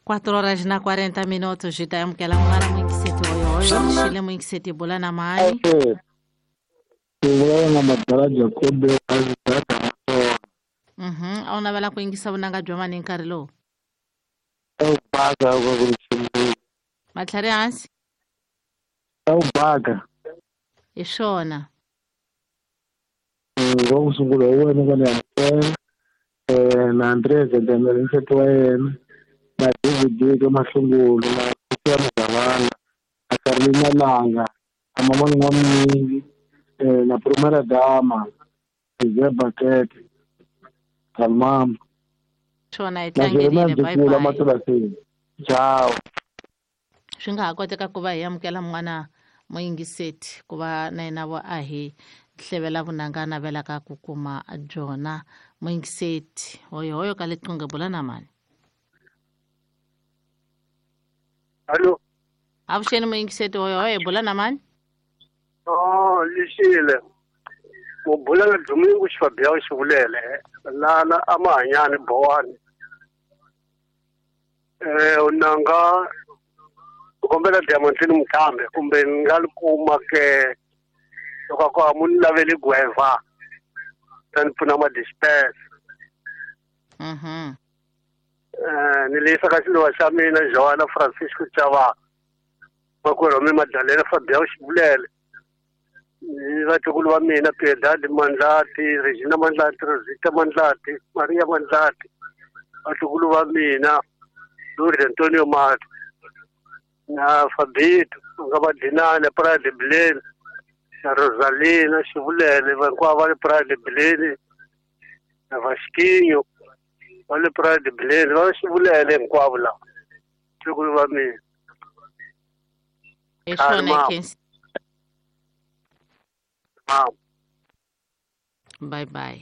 4 horas na 40 minutos hi ta amukela munghana muyingiseti hoyohoyo rixile muyingiseti bula na mani. Vulavula na Madala Jacobe. A wu navela ku yingisa vunanga bya mani hi nkarhi lowu? Baka ku ri matlhari hansi. U baka hi swona. Wa ku sungula hi wena ka ni amukela na Andrea Zendamela nsati wa yena na David ka Mahlungulu na Sophia Mugavana na Carolina Langa na Mama N'wamingi na Primera Dama Isaiah Bakete Kalmama swona hi tlangerile. Bye bye. Matulasini. Ciao. Swi nga ha koteka ku va hi amukela mun'wana muyingiseti ku va na yena vo a hi hlevela vunanga navelaka ku kuma byona. Muyingiseti hoyohoyo ka liqingho bula na mani. Allo. Avuxeni muyingiseti hoyohoyo bula na mani. Oh, lexile. U bula na Domingo Xifabia Xivulele lana amahanyani Bowani. Unanga kombela Diamantini Muthambe kumbe ni nga li kuma ke loko ko a mu ni laveli gweva ta ni pfuna ma disperse. Ni leyisa ka xiluva xa mina Joana Francisco Chava makwerhu wa mina Madalena Fabia Xivulele ni vatukulu va mina Piedad Mandlati, Regina Mandlati, Rosita Mandlati, Maria Mandlati, vatukulu va mina Lourdes Antonio Mato na Fabito nga va Dinane Pride Bileni na Rosalina Xivulele hinkwavo va le Pride Bileni na Vasquinho va le Pride Bileni va Xivulele hinkwavo lava vatukulu va mina. Hi swona. Bye bye.